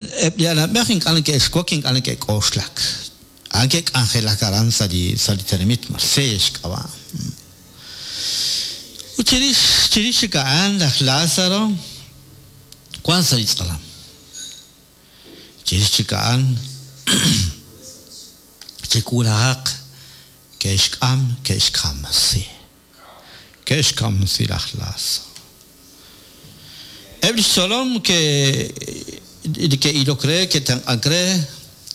Eb' li anab'ej ink'a' neke'xwak ink'a' neke'k'oxlak. A'an ke'k'anjelak aran sa' li sa' li tenamit Marsella xk'ab'a'. Ut chirix chirix chik a'an laj Lazaro wank sa' li tz'alam. Chirix chik a'an chi wulajaq ke'xk'am ke'xkamsi. Ke'xkamsi laj Lazaro. Eb' li xtzolom li ke'ilok re, ke'tenq'ank re,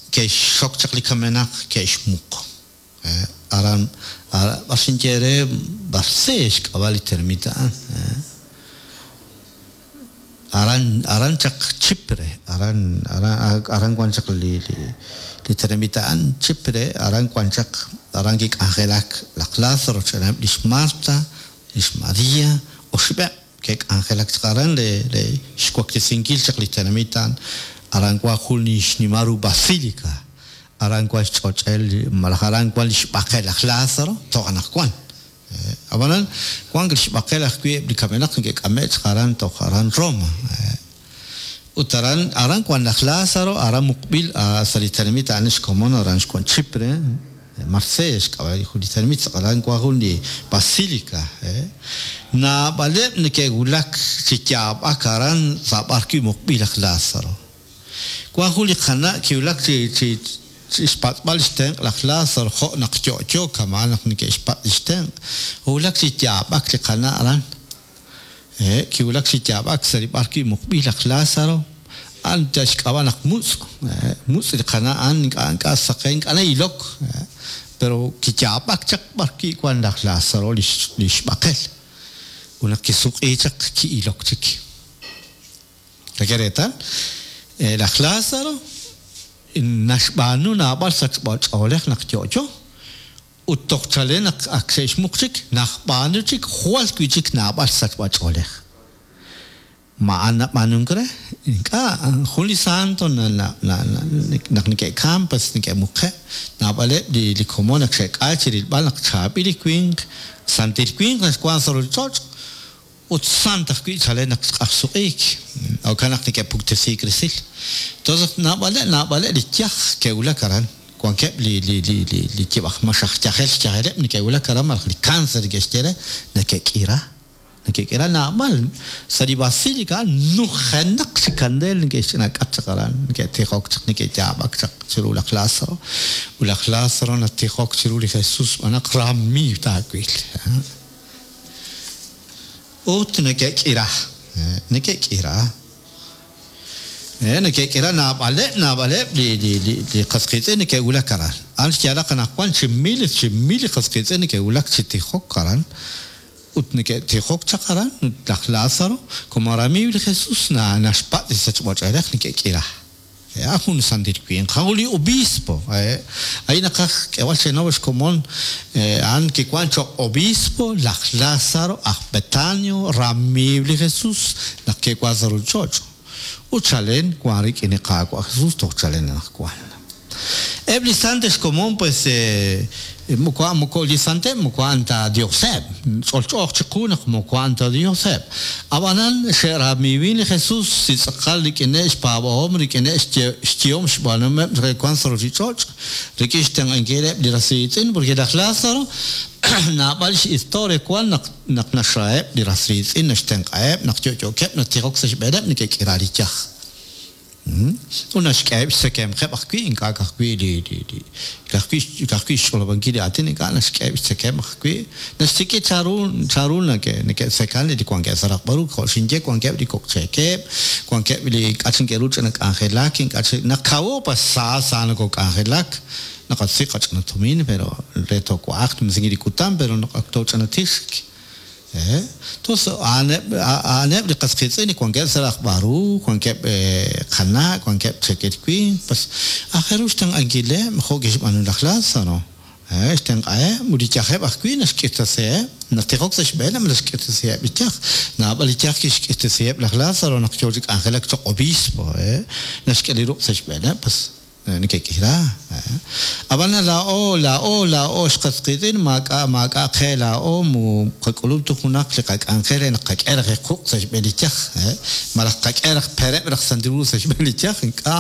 ke'xxok chaq li kamenaq, ke'xmuq. Aran, b'ar xinye eere, Barce xk'ab'a' li tenamit a'an. Aran, aran chaq Chipre, aran, aran, aran wan chaq li, li, li tenamit a'an, Chipre, aran wan chaq, aran kik'anjelak laj Lazaro rochb'eeneb' li xMarta, li xMaria, oxib'eb' ke'k'anjelak chaq aran re, re xwaklesinkil chaq li tenamit a'an. Aran wan jun li xnimal ru basilica, aran wan xch'och'el malaj aran wan li xb'aqel laj Lazaro toj anaqwan. Ab'anan, wank li xb'aqel ajwi' eb' li kamenaq neke'k'ame'k chaq aran toj aran Roma. Ut aran, aran wank laj Lázaro, aran muqb'il sa' li tenamit a'an xkomon aran xwank Chipre, Marsella xk'ab'a' jun li tenamit, aran wank jun li basílica. Naab'aleb' neke'wulak chi yaab'ak aran sa' b'arwi' muqb'il laj Lázaro. Wank jun li qana' kiwulak chi chi xpatz'b'al xtenq' laj Lázaro jo' naq yo'yo kama'an naq neke'xpatz' li xtenq'. Wulak chi yaab'ak li qana' aran. Hehe', kiwulak chi yaab'ak sa' li b'ar wi' muqb'il laj Lázaro. A'an yal xk'ab'a' naq mutz'. Hehe', mutz' li qana' a'an ink'a' ink'a' saqen, ink'a' na'ilok. Hehe', pero kiyaab'ak chaq b'ar wi' wank laj Lázaro li xb'aqel. Ut naq kisuq'iik chaq ki'ilok chik. Nak'e reetal, laj Lazaro naxb'aanu naab'al sachb'a-ch'oolej naq yo'yo, ut toj chalen naq ak xe'xmuq chik, najb'aanu chik jwal wi'chik naab'al sachb'a-ch'oolej. Ma a'an nab'aanunk re? Ink'a', jun li santo naq neke'kamk pues neke'muqe'. Naab'aleb' li komon ak xe'k'ay chirilb'al naq chaab'il li winq, santil winq naxwank sa' ruchich'och', Ut sant ajwi' chalen naq xq'ajsuq'iik, jo'kan naq neke'puktesiik resil. Entonces naab'aleb' naab'aleb' li yaj ke'wulak aran, wankeb' li li li li li yib' aj max aj yajel xyajeleb' neke'wulak aran malaj li cancer neke'xye re, neke'k'ira, neke'k'ira naab'al. Sa' li basilica a'an nujenaq chi kandeel neke'xch'inak'at chaq aran, neke'tijok chaq, neke'yaab'ak chaq chiru laj Lazaro. Ut laj Lazaro natijok chiru li Jesus xb'aan naq ramiiw taawil. Ut neke'k'ira. Neke'k'ira. Neke'k'ira naab'aleb' naab'aleb' li li li li qas qiitz'in neke'wulak aran. A'an xyaalaq anaqwan chi miles chi mil li qas qiitz'in neke'wulak chi tijok aran. Ut neke'tijok chaq aran ut laj Lazaro, como ramiiw li Jesus, na naxpatz' li sachb'ach'oolej neke'k'ira. A'an jun santil winq, a'an jun li obispo. A'in naqaj k'eeb'al cheenaw xkomon, a'an kiwank cho'q obispo laj Lázaro aj Betanio, ramiiw li Jesús naq ke'wank sa' ruuchich'och'. Ut chalen wank rik'in li Qaawa' Jesús toj chalen anaqwan. Eb' li sant xkomon pues moko a'an moko li santeb' moko a'an ta Dioseb'. Ch'olch'ooq chiqu naq moko a'an ta Dioseb'. Ab'anan xe'ramiiwin li Jesus chi tz'aqal rik'ineb' xpaab'ahom, rik'ineb' xyehom xb'aanuhomeb' re wank sa' ruuchich'och', rik'in xtenq'ankileb' li ras riitz'in, porque laj Lazaro naab'al xhistoria wank naq naq naxraheb' li ras riitz'in, naxtenq'aheb', naq yo'yookeb' natijok sa' xb'eeneb' neke'k'ira li yaj. Ut naxk'eheb' xtzekemqeb' ajwi', ink'a' ka'ajwi' li ka'ajwi' ka'ajwi' xch'olob'ankil li aatin, ink'a' naxk'eheb' xtzekemq ajwi', naxsik'i chanru chanru neke'tzekan li wankeb' sa' raqb'al ru, jo' xinye wankeb' li kok' cheekeb', wankeb' li ink'a' chik neke'ru ch'ina k'anjelak, ink'a' chik naq kawo pues sa sa nokok'anjelak, naqasik' qach'ina tumin pero re toowa'aq xnumsinkil li kutan pero naq ak tooch'ina tixk. Tos a'aneb' a'aneb' li qas qiitz'in li wankeb' sa' rajb'al ru, wankeb' qana', wankeb' cheekel winq, pues aajel ru xtenq'ankileb' jo' kixb'aanu laj Lazaro. Xtenq'aheb' ut li yajeb' ajwi' naxk'irtasiheb', natijok sa' xb'eeneb' naxk'irtasiheb' li yaj. Naab'al li yaj kixk'irtasiheb' laj Lazaro naq yoo chi k'anjelak cho'q obispo, naxk'e li ruq' sa' xb'eeneb', pues. Neke'k'ira. Ab'an laa'o, laa'o, laa'o xqas qiitz'in maak'a' maak'a' qe laa'o mu qak'ulub' tu junaq li qak'anjel re naq qak'e raj quq' sa' xb'een li yaj, malaj qak'e raj pereb' raj Santil Hu sa' xb'een li yaj, ink'a'.